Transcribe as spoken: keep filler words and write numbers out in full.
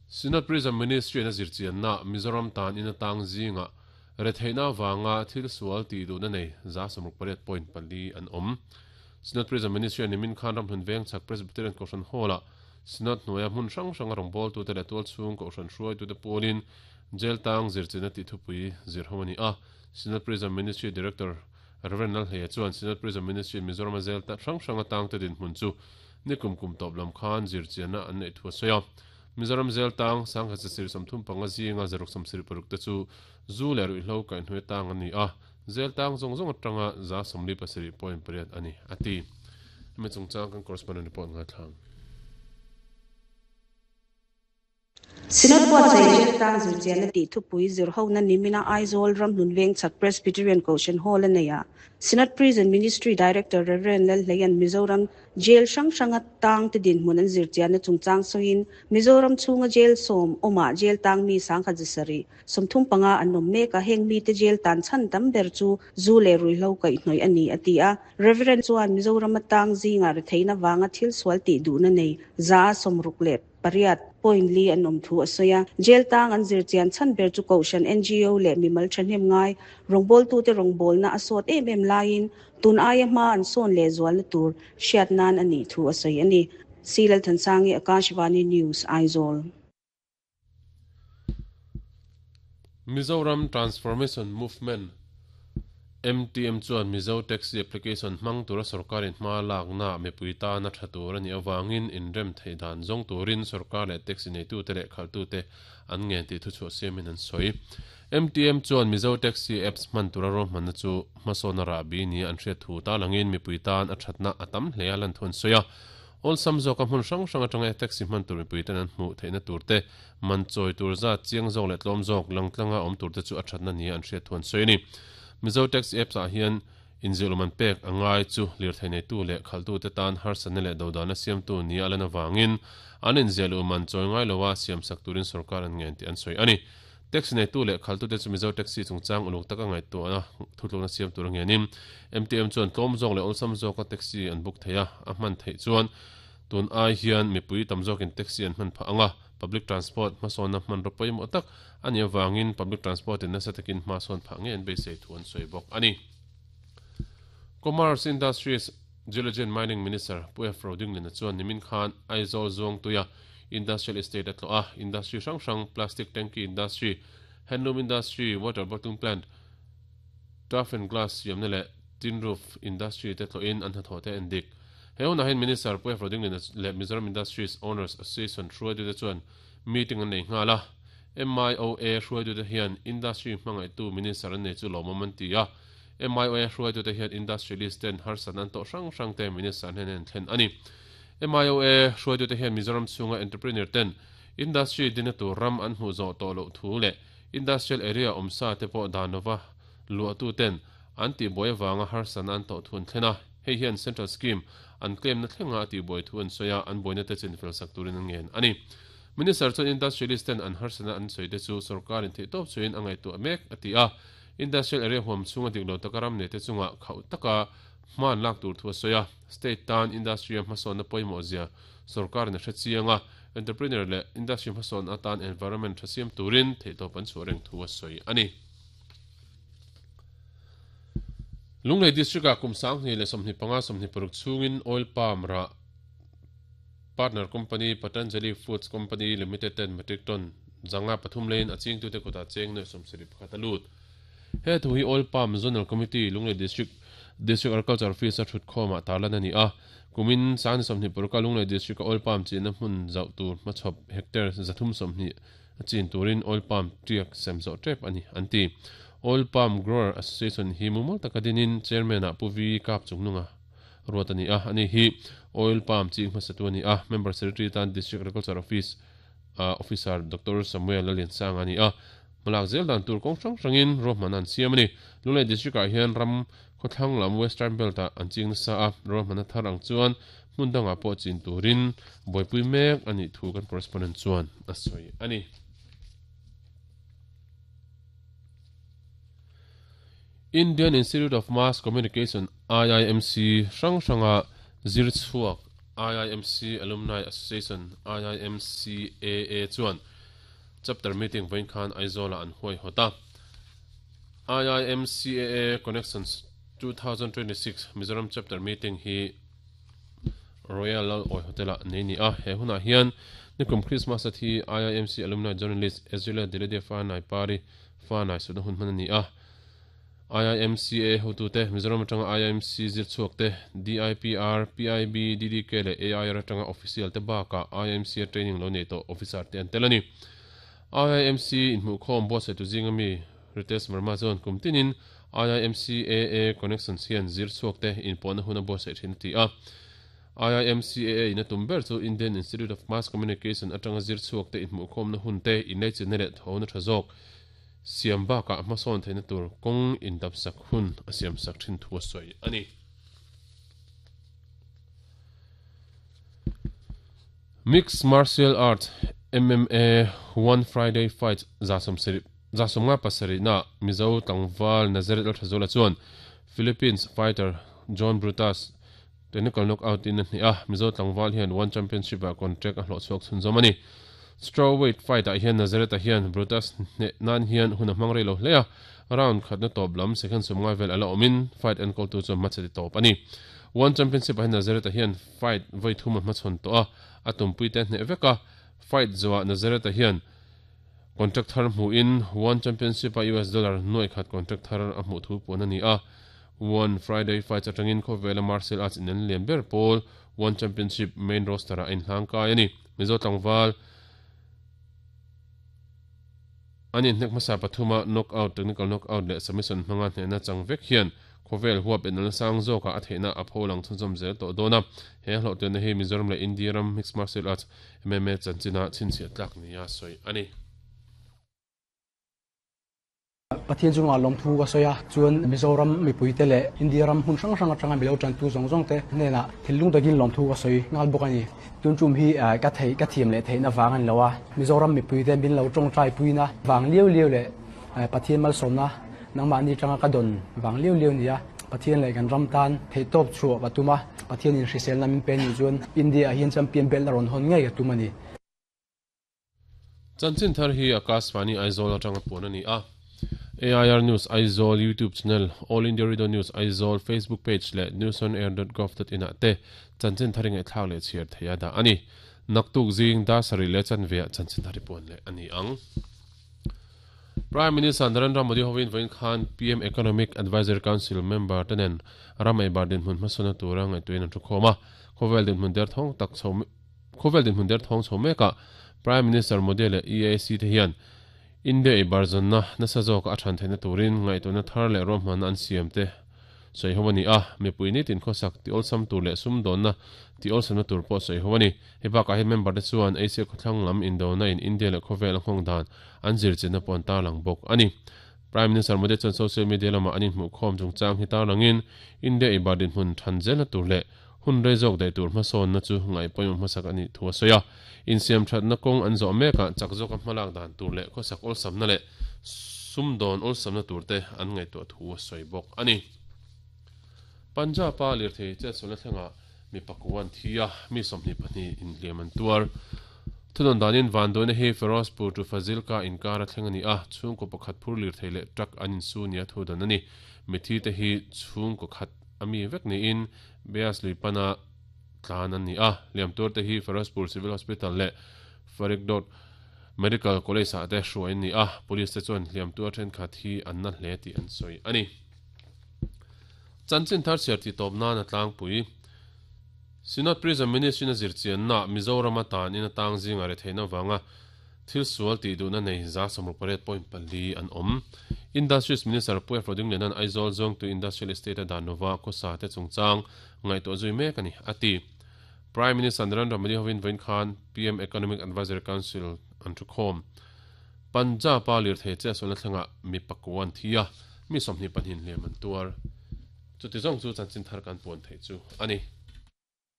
Synod Prison Ministry na zirchian na Mizoram tan in atang zinga retheina wanga thil sual ti du na nei za samruk pariat point pali an om. Synod Prison Ministry ni min khan ram hun veng chak Presbyterian Kohhran Hall-a Synod hnuaia hmun hrang hrang a rawngbâwl tute leh tual chhung Kohhran hruai tute pawlin jail tang zirchina tih thupui zir ho a ni a. Synod Prison Ministry Director Reverend Lalhleia chuan Synod Prison Ministry Mizoram a jail hrang hrang atang te dinhmun chu nikum kum tawp lam khan zirchianna an neih thu a sawi a. Mizoram jail tang sangkhat sasir sawmthum panga zinga zaruk sawmsarih paruk te chu zu leh ruihhlo kaihhnuai tang an ni a. Jail tang zawng zawng atanga za sawmli pasarih point pariat a ni a ti. Hemi chungchang kan correspondent report ngaithlang. Synod buatsaih jail tang zirchianna tih thupui zir hona nimina Aizawl Ramhlun Veng chak Presbyterian Kohhran Hall a nei a. Synod Prison Ministry Director Reverend Lalhleian Mizoram jail hrang hranga tang te dinhmun an zirchianna chungchang sawiin Mizoram chhunga jail sawm awmah jail tang mi sangkhat zasarih sawmthum panga an awm mek a, heng mi te jail tan chhan tam ber chu zu leh ruihhlo kaihhnawih a ni a ti a. Reverend chuan Mizoram atang zinga retheina wanga thil sual tih duhna nei za sawmruk leh pariat point li an awm thu a sawi a. Jail tang an zirchian chhan ber chu Kohhran N G O leh mimal thahnem ngai rawngbâwl tute rawngbâwlna a sawt em em laiin tun aia hma an sawn leh zualna tur hriat nan a nih thu a sawi a ni. Silal Thansangi, Akashvani News, Aizawl. Mizoram Transformation Movement M T M chuan Mizo Taxi Application hmang tura sarkarin hma lakna mipui tana tha tur a nih awangin inrem theih dan zawng turin sarkar leh taxi neitute leh khalhtute an ngen tih thu chhuah siamin an sawi. M T M chuan Mizo Taxi Apps hman tura rawhmanna chu hmasawn a rahbi ni an hriat thu ta langin mipui tan a thatna a tam hle a lan thu an sawi a. Awlsam zawka hmun hrang hrang atanga taxi hman tur mipui ten an hmuh theihna turte man chawi tur zat chiang zawk leh tlawm zawk langtlanga awm turte chu a thatna ni an hriat thu an sawi a ni. Mizo Taxi Apps ah hian inzilh man pek angai chu lirthei neitu leh khalhtute tan harsatna leh dodana siamtu ni a lan awangin an inzilh man chawi ngai loa siam sak turin sarkar an ngen tih an sawi a ni. Taxi neitu leh khalhtute chu Mizo Taxi chungchang uluk taka ngaihtuahna thutlukna siam tur a ngenin M T M chuan tlawm zawk leh awlsam zawka taxi an book thei a, a hman theih chuan tun ai hian mipui tam zawkin taxi an hman phah anga public transport hmasawnna hman ro pawimawh tak a nih awangin public transport in nasa takin hmasawn phah nge an beisei thu an sawi bawk a ni. Commerce Industries Geology and Mining Minister Pu F Rodinglin chuan nimin khan Aizawl Zuang tuia Industrial Estate a tlawh a, industry hrang hrang plastic tanki industry, handloom industry, water bottle plant, turf and glass siamna leh tin roof industry te tlawhin an hnathawh te en dik. He hunah hian Minister Pu F Rodinglin leh Mizoram Industries Owners Association hruaitute chuan meeting an nei nghal a. M I O A hruaitute hian industry hmangaihtu minister an nei chu lawmawm an ti a. M I O A hruaitute hian industrialist ten harsatna an tawh hrang hrang te minister hnen an thlen a ni. M I O A hruaitute hian Mizoram chhunga entrepreneur ten industry dina tur ram an hmuh zawh tawh loh thu leh industrial area awmsa te pawh danova luahtu ten an tihbuai awanga harsatna an tawh thu an thlen a. Hei hian central scheme an claim na thlenga a tihbuai thu an sawi a, an buaina te chinfel sak turin an ngen a ni. Minister chuan industrialist ten an harsatna an sawi te chu sarkarin theih tawp chuin a ngaihtuah mek a ti a. Industrial area huam chhunga dik lo taka ram nei te chunga khauh taka hman lak tur thu a sawi a. State tan industry a hmasawnna pawimawh zia sarkarin a hre chiang a, entrepreneur leh industry hmasawn atan environment tha siam turin theih tawp an chhuah reng thu a sawi a ni. Lunglei district ah kum sanghnih leh sawmhnih panga sawmhnih paruk chhungin oil palm ra partner company Patanjali Foods Company Limited ten metric ton zanga pathum lein a chingtute kutah cheng nuai sawmsarih pakhat a lut. He thu hi Oil Palm Zonal Committee Lunglei District District Agriculture Office a thut khawmah tarlan a ni a. Kumin sangni sawmhnih paruka Lunglei District a oil palm chinna hmun zauh tur hmachhawp hectare zathum sawmhnih a chin turin oil palm tiak sem zawh tep a ni an ti. Oil Palm Grower Association hi mumal taka dinin chairman ah Pu V Kap Chungnunga ruat a ni a. Ani hi oil palm ching hmasatu a ni a. Member Secretary tan District Agriculture Office Officer Doctor Samuel Lalliansanga a ni a. Hmalak zel dan tur kawng hrang hrangin ruahman an siam a ni. Lunglei District ah hian ram khawthlang lam Western Belt ah an ching nasa a. Ruahman a thar ang chuan hmun dangah pawh chin turin buaipui mek a nih thu kan correspondent chuan a sawi a ni. Indian Institute of Mass Communication I I M C hrang hranga zir chhuak I I M C Alumni Association I I M C A A chuan chapter meeting vawiin khan Aizawl ah an huai hawt a. I I M C A A Connections two thousand twenty-six Mizoram chapter meeting hi Royal Lal Oi Hotel ah nei ni a. He hunah hian nikum Christmas a thi I I M C alumni journalist Ezrelia Diledia Fanai Pari Fanai sutna hun hman a ni a. I I M C A hotute Mizoram atanga I I M C zir chhuak te D I P R, P I B, D D K leh A I R atanga official te bakah I I M C training lo nei tawh officer te an tel a ni. I I M C inhmuhkhawm buatsaih tu zinga mi Ritesh Verma chuan kum tinin I I M C A A Connections hian zir chhuak te inpawhna hun a buatsaih thin a ti a. I I M C A A in a tum ber chu Indian Institute of Mass Communication atanga zir chhuak te inhmuhkhawmna hun te inleichilna leh thona tha zawk siam bakah hmasawn theihna tur kawng indap sak hun a siam sak thin thu a sawi a ni. Mixed Martial Arts M M A One Friday Fight zasawm sarih zasawm nga pasarih na Mizo tlangval Nazareth Lalthazuala chuan Philippines fighter John Brutus technical knockout in a hnih a. Mizo tlangval hian One Championship ah contract a hlawh chhuak chhunzawm a ni. Strawweight fight ah hian Nazareth ah hian Brutus hne nan hian hun a hmang rei lo hle a. Round khatna tawp lam second sawm ngai vel ala awmin fight enkawl tu chuan hmachhe ti tawp a ni. One Championship ah hian Nazareth ah hian fight vawi thum a hmachhawn tawh a, a tumpui te hneh vek a. Fight zawah Nazareth ah hian contract thar hmuhin One Championship ah U S dollar nuai khat contract thar a hmuh thu puan a ni a. One Friday fights atangin khawvela martial arts in an lian ber pawl One Championship main roster ah a inhlang kai a ni. Mizo tlangval an inhnek hmasa pathuma knockout, technical knockout leh submission hmanga hnehna chang vek hian khawvel huap en an sang zawkah a theihna a pho lang chhunzawm zel tawh dawn a. He hlawhtianna hi Mizoram leh India ram mixed martial arts M M A chanchina chhinchhiah tlak nia sawi a ni. Pathian chungah lawmthu ka sawi a, chuan Mizoram mipuite leh India ram hmun hrang hrang atanga milo tantu zawng zawng te hnenah thilung takin lawmthu ka sawi nghal bawk a ni. Tun tum hi ka thei ka thiam leh theihna vang a ni lo a, Mizoram mipuite min lo tawngtai puina vang liau liau leh Pathian malsawmna nangmahni tanga ka dawn vang liau liau ni a. Pathian leh kan ram tan theihtawp chhuah ka tum a, Pathianin hriselna min pe ni chuan India ah hian champion belt a rawn hawn ngei ka tum a ni. Chanchin thar hi Akashvani Aizawl atanga puan a ni a. A I R News Aizawl YouTube channel, All India Radio News Aizawl Facebook page leh newsonair dot gov dot in ah te chanchin thar ingaih thlak leh chhiar thei a dah a ni. Naktuk zing Dasari leh chanveah chanchin thar hi puan leh a ni ang. Prime Minister Narendra Modi hovin vawiin khan P M Economic Advisory Council member tenen ram ei bar dinhmun hmasawna tura ngaihtuahin an thu khawm a. Khawvel dinhmun der thawng tak chho Khawvel dinhmun der thawng chho mekah Prime Minister Modi leh E A C te hian India ei bar zawnna nasa zawka a than theihna turin ngaihtuahna thar leh ruahmanna an siam te sawi ho a ni a. Mipui nitin khawsak ti awlsam tur leh sum dawnna ti awlsamna tur pawh sawi ho a ni. Hei bakah hian member te chuan Asia khawthlang lam indona in India leh khawvel a nghawng dan an zir chenna pawh an tarlang bawk a ni. Prime Minister Modi chuan social media lamah an inhmuhkhawm chungchang hi tarlangin India ei bar dinhmun than zelna tur leh hun rei zawk daih tur hmasawnna chu ngaih pawimawh hmasak a nih thu a sawi a. Insiam thatna kawng an zawh mekah chak zawka hmalak dan tur leh khawsak awlsamna leh sum dawn awlsamna tur te an ngaihtuah thu a sawi bawk a ni. Punjab a lirthei chetsualna thlengah mi pakuan thi a, mi sawmhnih pahnih inhliam an tuar. Thunawn danin vanduaina hi Ferozpur to Fazilka inkar a thleng a ni a, chhungkaw pakhat phur lirthei leh truck an insu nia thu dan a ni. Mithi te hi chhungkaw khat a mi vek niin Beas Luipana tlan an ni a. Liam tur te hi Ferozpur Civil Hospital leh Faridkot Medical College ah te hruai an ni a. Police te chuan hliam tur thenkhat hi an na hle tih an sawi a ni. Chanchin thar chhiar ti tawp nan a tlangpui. Synod Prison Ministry na zirchianna Mizoram atan in atang zinga re theihna wanga thil sual ti duhna nei za sawmruk pariat point pali an awm. Industries Minister Pu F Rodingliana'n Aizawl zawng tu Industrial Estate a dan lova khawsa te chungchang ngaihtuah zui mek a ni a ti. Prime Minister Narendra Modi hovin vawiin khan P M Economic Advisory Council an thu khawm. Punjab a lirthei che sualna thlengah mi pakuan thi a, mi sawmhnih pahnih hliam an tuar. Chuti zawng chu chanchin thar kan puan thei chu a ni.